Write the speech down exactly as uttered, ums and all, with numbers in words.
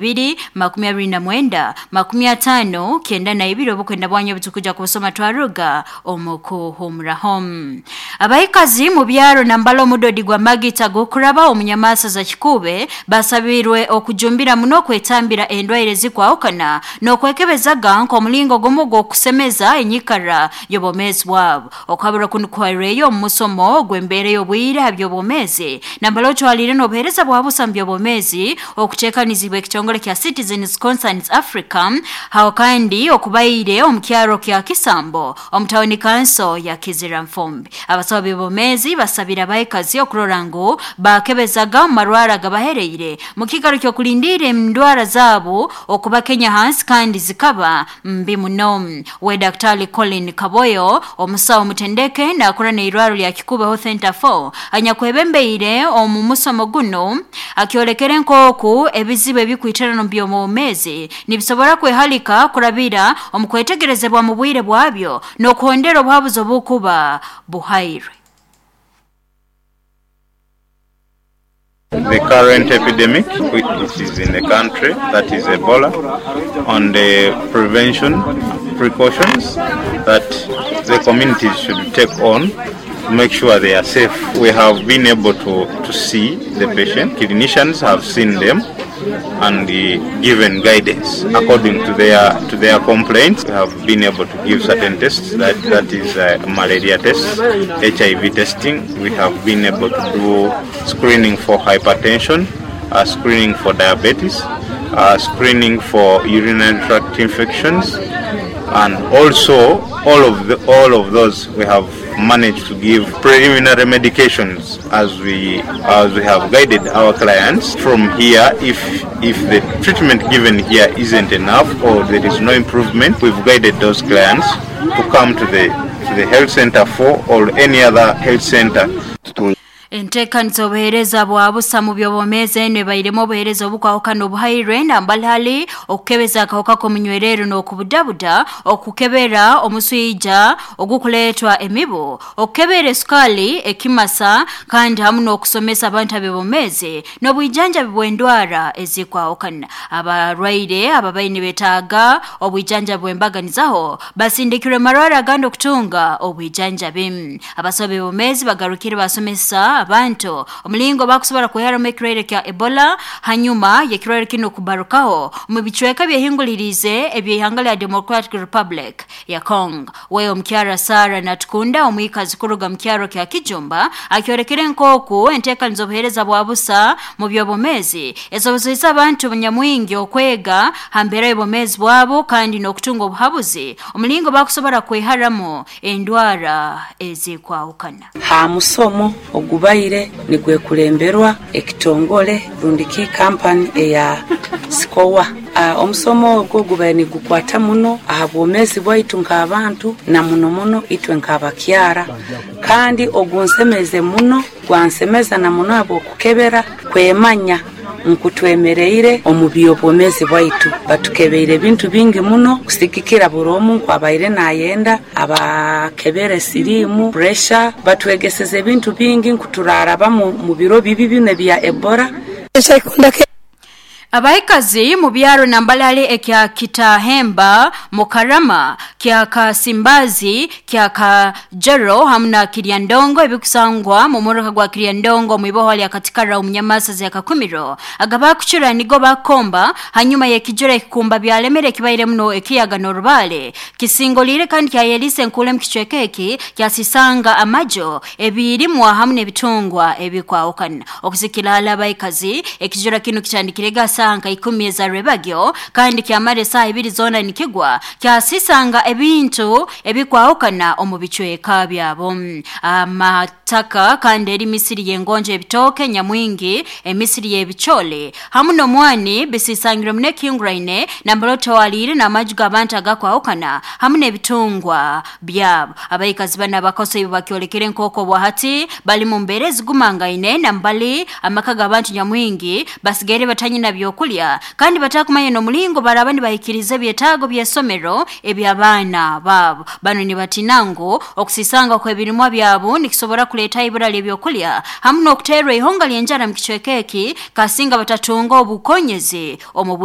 Biri makumi abiri na mwenda makumi atano kenda na ibiri obukwenda bwanyu obutukuja kubusoma twaruga omukuhumuraho. Abaikazi mu byaro nambala omudodi gwa magita gokuraba omunyamasa za kikube basabirwe okujumbira muno kwetambira endwaire zikwahukana n'okwekebezaga nk'omulingo gumu gw'okusemeza enyikara y'obwomeezi bwabo. Okabura kunu kwaireyo omu musomo gw'embeera y'obwire ha by'obwomeezi nambala otwalire n'obuheereza bwa busa mu by'obwomeezi okuteekanizibwa ekitongole kya Citizens Concerns Africa hao kandi okubaire omu kyaro kya Kisambo omu tawuni kanso ya Kizira Nfumbi. Abasawo b'obwomeezi basabira abaikazi okurora ngu bakebezaga omu marwara agabahereire mu kiikaro ky'okulindiira endwara zaabo okubakenya hansi kandi zikaba mbi muno. We Daktari Colin Kaboyo omusawo mutendeke nakora n'eirwaro lya Kikuube Health Center four anyakwebembeire omu musomo guno akyolekere nk'oku ebizibu ebikwitirana omu by'obwomeezi nibisobora kwehalika kurabira omu kwetegerezebwa mu bwire bwabyo n'okuhondera obuhabuzi obukuba buhairwe. The current epidemic which is in the country, that is Ebola, on the prevention precautions that the communities should take on to make sure they are safe. We have been able to, to see the patient. Clinicians have seen them and uh, given guidance according to their to their complaints. We have been able to give certain tests, that, that is uh, malaria tests, H I V testing. We have been able to do screening for hypertension, uh, screening for diabetes, uh, screening for urinary tract infections, and also all of the, all of those we have managed to give preliminary medications as we as we have guided our clients from here. If if the treatment given here isn't enough or there is no improvement, we've guided those clients to come to the to the health center four or any other health center. Enteekaniza obuheereza bwa busa mu by'obwomeezi eno ebairemu obuheereza obukwahukana obuhairwe nambali okukebeza akahuka k'omunywerero n'okubudabuda, okukebera omuswija ogukuleetwa emibu, okukebera esukali ekimasa kandi hamu n'okusomesa abantu ab'obwomeezi n'obwijanjabi bw'endwara ezikwahukana. Abarwaire ababaire nibetaaga obwijanjabi bw'embaganizaho basindikirwe marwara agandi okutunga obwijanjabi. Abasawo b'obwomeezi bagarukire basomesa abantu omulingo bakusobora kweharamu ekirwaire kya Ebola hanyuma y'ekirwaire kino kubarukaho mu bicweka byehingulirize eby'ihanga lya Democratic Republic ya Congo. We omukyara Sara Natukunda omwikazi kuruga mu kyaro kya Kijumba akyorekere nk'oku enteekaniza obuheereza bwa busa mu by'obwomeezi esobozesa abantu nyamwingi okwega ha mbeera y'obwomeezi bwabo kandi n'okutunga obuhabuzi omulingo bakusobora kweharamu endwara ezikwahukana. Ha musomo ogubaire nigwekulemberwa ekitongole rundiki kampani eya SICOA. Uh, omusomo ogwo gubaire nigukwata muno aha bwomeezi bwaitu nk'abantu na muno muno itwe nk'abakyara, kandi ogunsemeze muno gwansemeza na muno habw'okukebera kwemanya nkutwemereire omu by'obwomeezi bwaitu. Batukebeire ebintu bingi muno kusigikira buri omu nkwabaire nayenda abakebere sirimu pressure, batwegeseze ebintu bingi nkuturaraba mu biro bibi bino ebya Ebola. Abaikazi mu byaro nambalale ekya Kitahemba, Mukarama, kya Kasimbazi, kya Kajero hamu na Kiryandongo ebikusangwa mu muruka gwa Kiryandongo mu iboho lya Katikara omunyamasa ya Kakumiro agaba kuchura nigo bakomba hanyuma y'ekijura ekikumba byalemere kibaire muno ekiyaga n'orubale kisingolire kandi kyayelise nkule mu kicweka eki kyasisanga amajo ebirimwa hamu n'ebitungwa ebikwahukana. Okusikira abaikazi ekijura kino kitandikire gasa ikumi za rebagyo kandi kyamara esaha ibiri zona nikigwa kyasisanga ebintu ebikwahukana omu bicweka byabo. Amataka kandi eri misiri y'engonje ebitoke nyamwingi emisiri y'ebichole hamu n'omwani bisisangirwe mune kinguraine nambaloto walire n'amaju g'abantu agakwahukana hamu n'ebitungwa byabo. Abaikazi bana abakoso ibo bakyolekere nk'oko bwahati bali mu mbeera ezigumangaine nambali amaka g'abantu nyamwingi basigaire batanyina byo ebyokulya kandi batakumanya n'omulingo baraba nibahikiriza ebyetaago by'esomero eby'abaana baabo. Bano nibatina ngu okusisanga kw'ebirimwa byabo nikisobora kuleeta ibura ly'ebyokulya hamu n'okuteerwa ihonga ly'enjara mu kicweka eki kasinga batatunga obukonyezi omu bwire.